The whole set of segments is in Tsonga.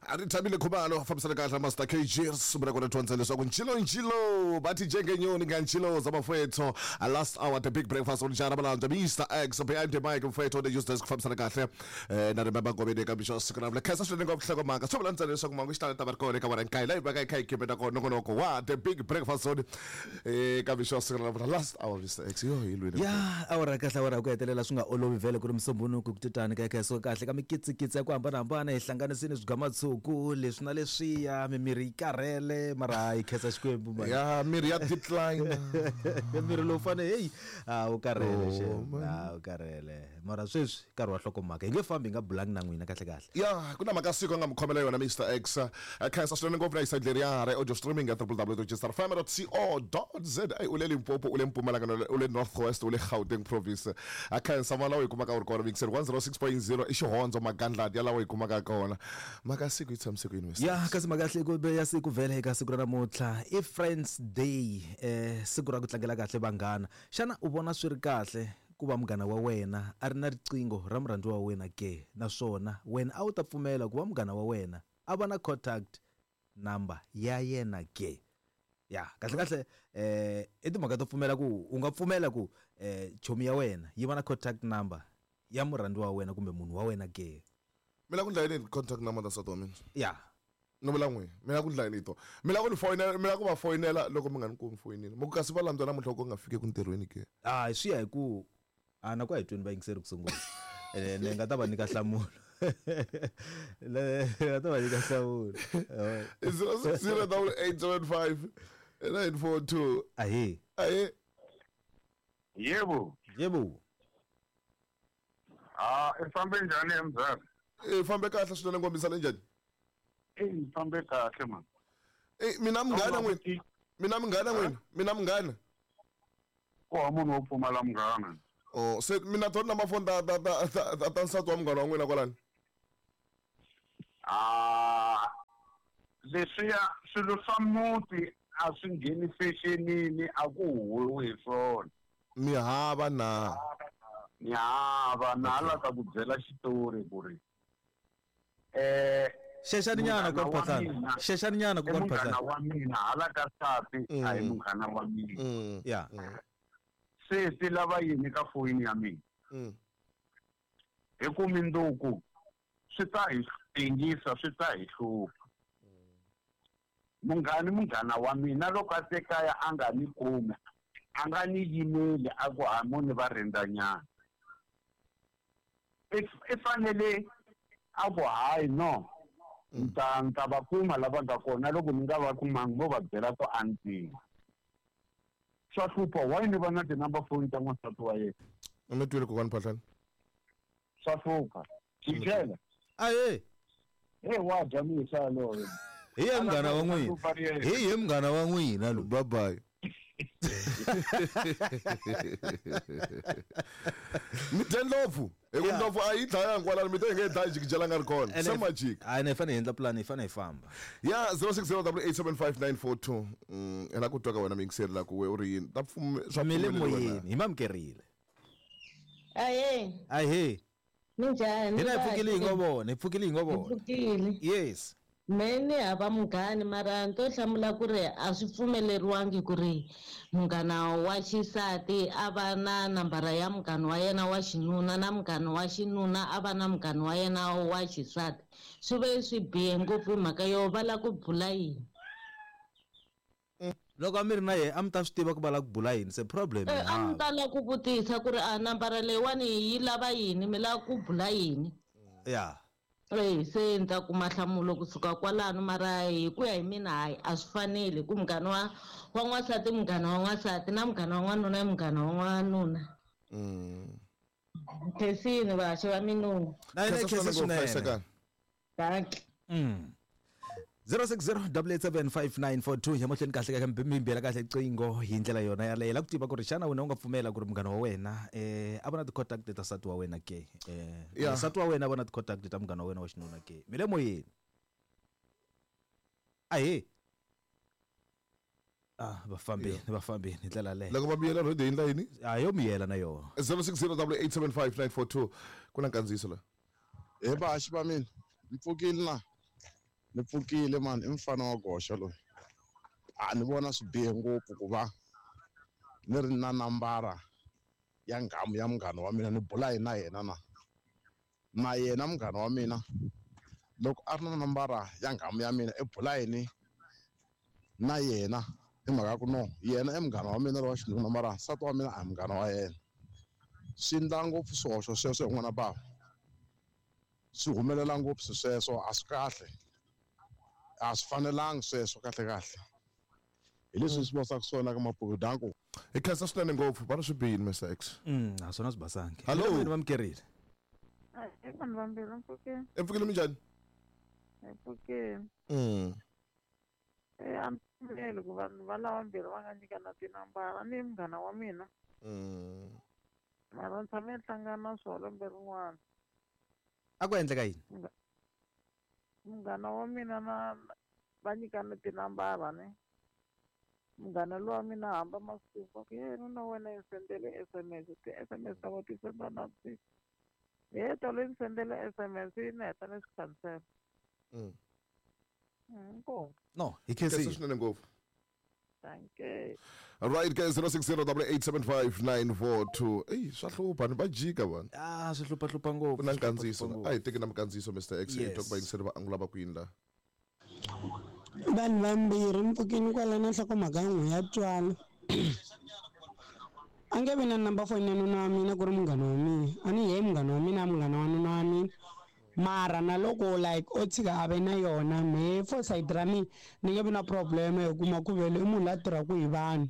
A ri thabile Khumalo fambisana kahle Master KG sungula kona dyondza leswaku ncilo ncilo bathi njengenyoni ngancilo zabafowethu. Last hour, The Big Breakfast on Jara Malanda, Mr X behind the mic, mfowethu on the news desk, fambisana kahle na Remember Ngobeni eka mixo siku ra khensa swinene ngopfu hloko mhaka swi vula ntsena leswaku mangu xitalo ta va ri kona eka wena nkayi layi va ka yi kha yi khipeta kona nongonoko wa The Big Breakfast on eka mixo siku ra last hour. Mr X yo hi lwini. Ya awara kahle, awara ku hetelela swi nga olovi vhele ku ri musumbunuku ku titani ka kha kahle ka mikitsikitsi ya ku hambanahambana, hi hlanganisini swigamatsuku leswi na leswiya, mimiri yi karhele, mara hi khensa Xikwembu man. Ya miri ya decline. Miri lowu fane heyi a wu karhele. Oh, xem man. A wu karhele, mara sweswi nkarhi wa hlokomhaka hi nge fambi hi nga bulangi na n'wina kahle kahle. Ya ku na mhaka siku a nga mi khomela yona Mr X. Khensa swinene ngopfu na hi side leriya ra audio streaming ya www.gsrfm.co.za. U le Limpopo, u le Mpumalanga, u le North West, u le Gauteng province, a khensa ma lawa hi kumaka u ri kona mixer 106.0 i xihondzo magandlati ya lawa hi kumaka kona. Mhaka siku yi tshamise ku yini, Mr Ya X? Kasi mhaka ya siku ya siku vhele eka siku ra namuntlha i Friends Day, siku ra ku tlangela kahle vanghana. Xana u vona swi ri kahle ku va munghana wa wena a ri na riqingho ra murhandziwa wa wena ke? Naswona wena a wu ta pfumela ku va munghana wa wena a va na contact number ya yena ke? Ya kahle kahle i timhaka to pfumela ku u nga pfumela ku chomi ya wena yi va na contact number ya murhandziwa wa wena kumbe munhu wa wena ke? Mi la ku ndla yini contact number ta nsati wa mina? Ya. No vula n'wina mi la ku ndla yini to? Mi la ku ni foyinela, mi la ku va foyinela loko mi nga ni kumi foyinini, mi ku kasi va landzwa namuntlha ku nga fiki ku ntirhweni ke? A swi ya hi ku a na ku a hi tweni vayingiseri ku sungula, ni nga ta va nyika nhlamulo, ni nga ta va nyika nhlamulo. 060 875 942. Ahee. Ahe. Yebo. Yebo. Ah, i fambe njhani emzala? I fambe kahle swinene, ngombisa le njhani? Eh, ni fambe kahle man. Eh, mina munghana n'wina, mina munghana n'wina, mina munghana. Ku ha munhu wo pfumala munghana. Oh, se mina tona number phone ta nsati wa munghana wa n'wina kwalani. Ah, leswiya swilo swa muti a swi ngheni fexenini, a ku huwiwi hi swona. Mi hava na? Ni hava na hala ta ku byela xitori ku ri Xexani nyana munghana kwa wa Phatlana. mina- Xexani nyana i kwa munghana Phatlana. wa mina, hala ka nsati a hi munghana wa mina. Ya. Se ti lava yini ka foyini ya mina? Hi ku minduku swi ta hi tengisa, swi ta hi hlupha. Munghani munghana wa mina loko a te kaya a nga ni kumi, a nga ni yimeli a ku hamoni va rindzanyana, i fanele a ku hayi no, ni ta va kuma lava nga kona, loko ni nga va kumangi mo va byela ku a ni tivi. Swa hlupha, why ni va na ti-number phone ta n'wansati wa yena? Mi twile kokwani Phatlani? Swa hlupha jikela. Ahe. Hey, wa dya misa yaloyo. Hi ye munghana wa n'wina, hi ye munghana wa n'wina lo. Bye bye. Mi dye ndlopfu hi ku ndlopfu a yi dlaya kwalano, mi te hi nge dlayi jikijela nga ri kona se majika. A ni hi fanele hi endla plan, hi fanele hi famba. Ya 060 875 942. Hi la ku twa ka wena miyingiseri la ku we u ri yini ta swa Mi le pfumeleriwa na? moyeni, hi mamukerile. Ahee. Ahee. Minjhani? Hina hi pfukile hi ngo vona, hi pfukile hi ngo vona. Pfukile. Yes. Me ni hava munghani, mara ni to hlamula ku ri a swi pfumeleriwangi ku ri munghana wa xisati a va na nambara ya munghana wa yena wa xinuna, na munghana wa xinuna a va na munghana wa yena wa xisati. Swi ve swi bihe ngopfu hi mhaka yo va lava ku bula yini. Loko a mi ri na yena a mi ta swi tiva ku va lava ku bula yini, se problem A mi ta lava ku vutisa ku ri a nambara leyiwani yi lava yini, mi lava ku bula yini. Ya. Se ni ta kuma nhlamulo kusuka kwalano, mara hi ku ya hi mina hayi a swi faneli ku munghana wa n'wansati munghana wa n'wansati na munghana wa n'wanuna i munghana wa n'wanuna. Khensini vaxi va minungu. Na yena Khensa khensa swinene ngopfu, swinene. Hlayisekani. Dankie. 060 887 5942 ya mahlweni kahle kahle mi bela kahle qingho hi ndlela yona yaleyo, la ku tiva ku ri xana wena u nga pfumela ku ri munghana wa wena a va na ti-contact ta nsati wa wena ke? Nsati wa wena a va na ti-contact ta munghana wa wena wa xinuna ke? Mi le moyeni. Ahee. Ah, va fambini, va fambini hi ndlela leyo. Loko va miyela rhodi hi ndla yini? A yo miyela na yona. 060 875 942 ku na nkandziyiso la. He vahaxi va mina, mi pfukile na? Ni pfukile mani i mfana wa goxa loyi. A ni vona swi bihe ngopfu ku va ni ri na nambara ya nghamu ya munghana wa mina ni bula hi na yena na yena munghana wa mina loko a ri na nambara ya nghamu ya mina i bula yini na yena hi mhaka ku no yena i munghana wa mina lowa xinuna mara nsati wa mina a hi munghana wa yena. Swi endla ngopfu swihoxo sweswo hi n'wana bava swi humelela ngopfu sweswo a swi kahle a swi fanelangi sweswo kahle kahle hi leswi swi vosaka swona ka Mapuku danko. Hi khensa swinene ngopfu va ri swi bihile Mr X. A swona swi basangi. Hello. Mina va mukerile. I vanhu vambirhi mpfukeni. Mpfukile minjhani? Mpfukeni. A ni pfumeli ku vanhu va lava vambirhi va nga nyikana tinambara ni munghana wa mina. Mara ni tshame ni hlangana na swona lembe rin'wana. A ku endleka yini? Munghana wa mina na va nyikana tinambara ne. Munghana lowa mina hamba masiku va ku ye nuna wena yi sendele SMS ti-SMS ta va ti senda na vusiku. He tolo yi ni sendele SMS yi ni heta ni swi cancel. Inkomu. No, hi Khensa khensile. swinene ngopfu. Thank you. All right guys 0608875942. Ey swa hlupha ni va jika vanhu. Ah swi hlupha hlupha ngopfu. Ku na swi hlupha, nkandziyiso. hlupha A hi teki na minkandziyiso Mr X hi Yes. twa ku vayingiseri va angula va ku yini la. Vanhu vambirhi mpfukeni kwala na nhlokomhaka n'we ya twala. A nge vi na number phone ya nuna wa mina ku ri munghana wa mina a ni ye munghana wa mina a munghana wa nuna wa mina mara na loko like o tshika a ve na yona mehe for side ra mina ni nge vi na problem hi kuma ku vele i munhu la tirhaka hi vanhu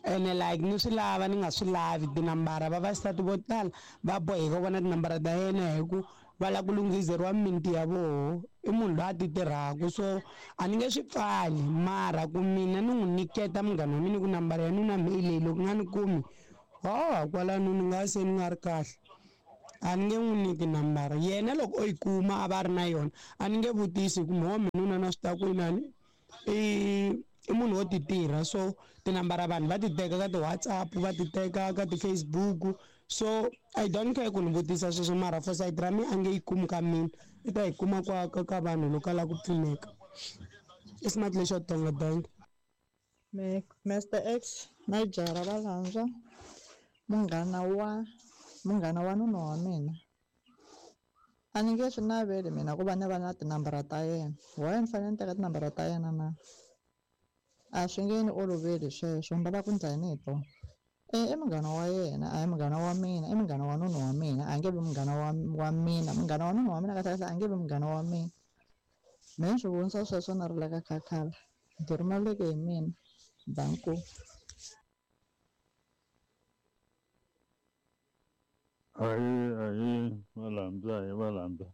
ene like ni swi lava ni nga swi lavi tinambara vavasati vo tala va boheka vona tinambara ta yena hi ku va lava ku lunghizeriwa mimiti ya voho i munhu loyi a ti tirhaka so a ni nge swi pfali mara ku mina ni n'wi nyiketa munghana wa mina ku nambara ya nuna mehe leyi loko nga ni kumi ho kwalano ni nga se ni nga ri kahle a ni nge n'wi nyiki nambara yena loko o yi kuma a va a ri na yona a ni nge vutisi ku mho minuna na swi ta ku inani i munhu wo ti tirha so tinambara vanhu va ti teka ka ti-WhatsApp va ti teka ka ti-Facebook so I don't care ku ni vutisa sweswo mara for side ra mina a nge yi kumi ka mina i ta yi kuma kwa ka vanhu loko a lava ku pfuneka i smart lexo tonga dank. Mr X na jara va landzwa munghana wa nuna wa mina a ni nge swi naveli mina ku va ni va na tinambara ta yena why ni fanele ni teka tinambara ta yena na a swi nge ni oloveli sweswo ni lava ku ndla yini hi tona i munghana wa yena a hi munghana wa mina i munghana wa nuna wa mina a nge vi munghana wa mina munghana wa nuna wa mina kahle kahle a nge vi munghana wa mina me ni swi vonisa sweswo na ri la ka khakhala ndzi rhumeleke hi mina danko. Ahi valambya hi valambya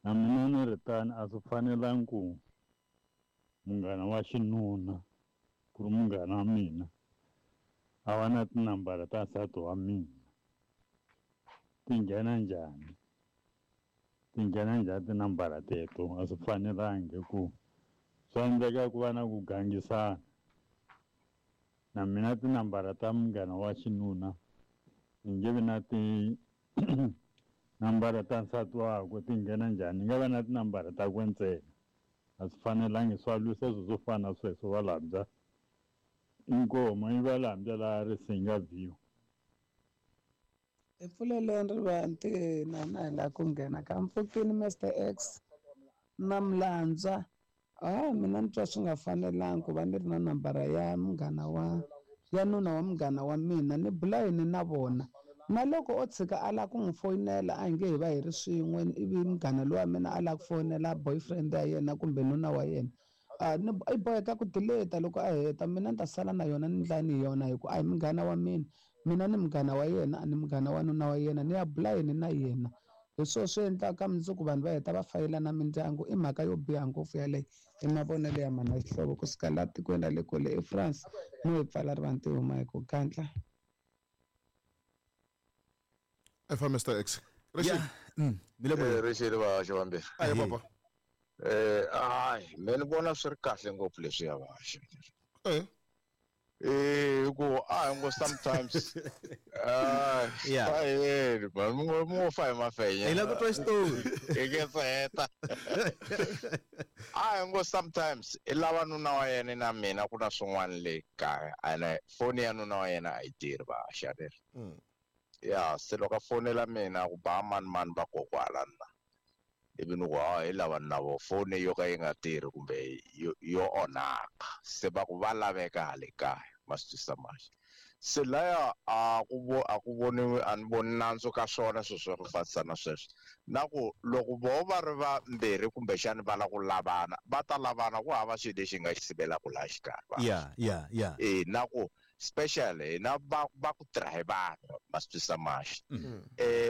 na mina ni ri tani a swi fanelangi ku munghana wa xinuna ku ri munghana wa mina a va na tinambara ta nsati wa mina ti nghena njhani tinambara teto a swi fanelangi ku swa endleka ku va na ku gangisana na mina tinambara ta munghana wa xinuna ni nge vi na tinambara ta nsati wakwe ti nghena njhani ni nga va na tinambara takwe ntsena a swi fanelangi swa lwisa swilo swo fana na sweswo valambya inkomo i valambya laha Risinga View. Hi pfuleleni rivanti na hi lava ku nghena ka mpfukeni Mr X na Mlandzwa. Mina ni twa swi nga fanelangi ku va ni ri na nambara ya munghana wa ya nuna wa munghana wa mina ni bula yini na vona na loko o tshika a lava ku n'wi foyinela a hi nge hi va hi ri swin'we ivi munghana lowa mina a lava ku foyinela boyfriend ya yena kumbe nuna wa yena ni i boheka ku delete loko a heta mina ni ta sala na yona ni ndlani hi yona hi ku a hi munghana wa mina mina ni munghana wa yena a ni munghana wa nuna wa yena ni ya bula yini na yena hi swona swi endlaka mundzuku vanhu va heta va fayelana mindyangu i mhaka yo biha ngopfu yaleyo i mavonelo ya mana xihlovo kusuka laha tikweni ra le kule eFrance no hi pfala rivanti huma hi ku gandla. Fa Mr X. Rixile va xivambirhi. Ayi papa. Hayi mina ni vona swi ri kahle ngopfu leswiya va. Ku a hi ngo sometimes Yeah. aheli man mi ngo fa hi mafenya Hi lava ku twa xitori. hi nge se heta a hi ngo sometimes i lava nuna wa yena na mina ku na swin'wana le kaya ene foni ya nuna wa yena a yi tirhi va xaneri ya se loko a fonela mina ku ba mani mani va kokwala na ivi ni ku ha hi lava na vo foni yo ka yi nga tirhi kumbe yo onhaka se va ku va laveka hale kaya ma swi twisisa manje se laya a ku voniwi a ni voni nandzu ka swona swilo swa ku fanisa na sweswo na ku loko vo va ri vambirhi kumbexani va lava ku lavana va ta lavana ku hava xilo lexi nga xi sivelaka laha xikarhi Yeah. E na ku special hina va ku tirha hi vanhu ma swi twisisa maxi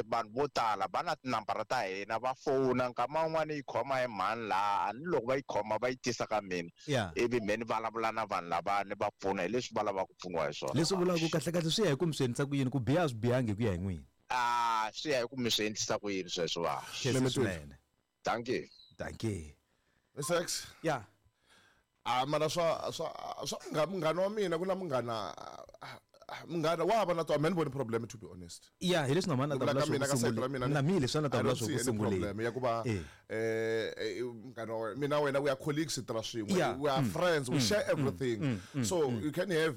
vanhu vo tala va na tinambara ta hina va fona nkama wun'wani yi khoma hi mhani laha ni loko va yi khoma va yi tisa ka mina ivi me ni vulavula na vanhu lava ni va pfuna hi leswi va lavaka ku pfuniwa hi swona. Leswi vulaka ku kahlekahle swi ya hi ku mi swi endlisa ku yini ku biha a swi bihangi hi ku ya hi n'wina. A swi ya hi ku mi swi endlisa ku yini sweswo va. Swinene. Thank you. Thank you. Sex. Yeah. Mara swa munghana wa mina ku na munghana wa va na to a ni voni problem to be honest. Yeah, hi leswi na mhani a ta vula swo ku sunguleni. Na mina leswi a ta vula swo ku sunguleni. Problem ya ku va munghana wa mina wena we are colleagues tirha swin'we, we are friends, we share everything. So you can have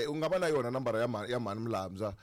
u nga va na yona nambara ya mhani Mlambya.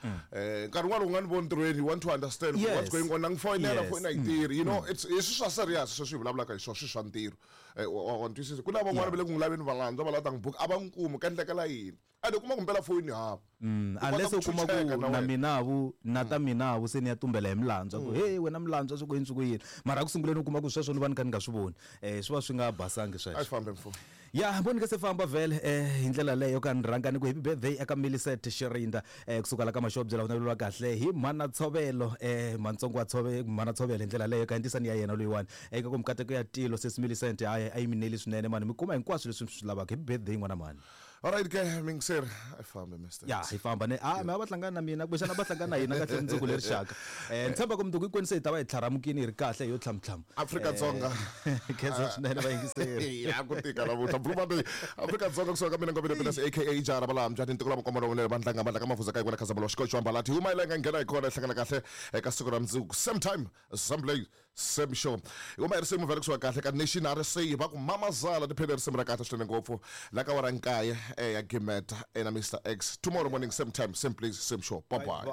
Nkarhi wun'wana u nga ni voni ntirhweni, you want to understand what's going on, na ngifonela foni a yi tirhi, you know, it's swi swa serious sweswi hi vulavulaka hi swona, swi swa ntirho. Wa twisisa ku na van'wana va le ku n'wi laveni valandzwa va lava ta n'wi buka a va n'wi kumi ka endlekela yini a ni kuma ku mpela foni hava unless u kuma ku na minavu na ta minavu se ni ya tumbela hi Mlandzwa ku hey wena Mlandzwa swi ku yini swi ku yini mara ku sunguleni u kuma ku sweswo ni va ni kha ni nga swi voni swi va swi nga basangi sweswo. A swi fambe mfo. Ya voni ka se famba vhele hi ndlela leyo ka ni rhanga ni ku happy birthday eka Millicent Shirinda kusuka la ka Maxobye la vunaveliwa kahle hi mhana Tshovelo mantsongo wa Tshove mhana Tshovelo hi ndlela leyo ka ndisani ya yena loyiwani eka ku mikateko ya tilo sesi Millicent hayi a yi mineli swinene mani mi kuma hinkwaswo leswi mi swi lavaka. Happy birthday n'wana mhani. All right ke mingiseri a fambe Mr. Ya hi famba ne a mi va hlangana na mina kumbexana va hlangana na hina kahle mundzuku leri xaka. Ni tshemba ku mundzuku hinkwenu se hi ta va hi tlharamukini hi ri kahle hi yo tlhamtlham. Afrika Dzonga. Khensa swinene vayingiseri. Ya ku tika namuntlha Blue Monday. Afrika Dzonga kusuka ka mina Ngobeni Penas aka Jara Balambya ni ntiko la makomba lowunene vandlanga mandla ka mafuza ka yikona Khazamula xikoxo ambalati huma yi lenga nghena hi kona hi hlangana kahle eka siku ra mundzuku same time same place same show. Huma hi risimu vhele kusuka kahle ka Nation RSA va ku mamazala tiphele risimu ra kahle swinene ngopfu la ka wara nkaye ya Gimeta na Mr X tomorrow morning same time same place same show. Bye bye.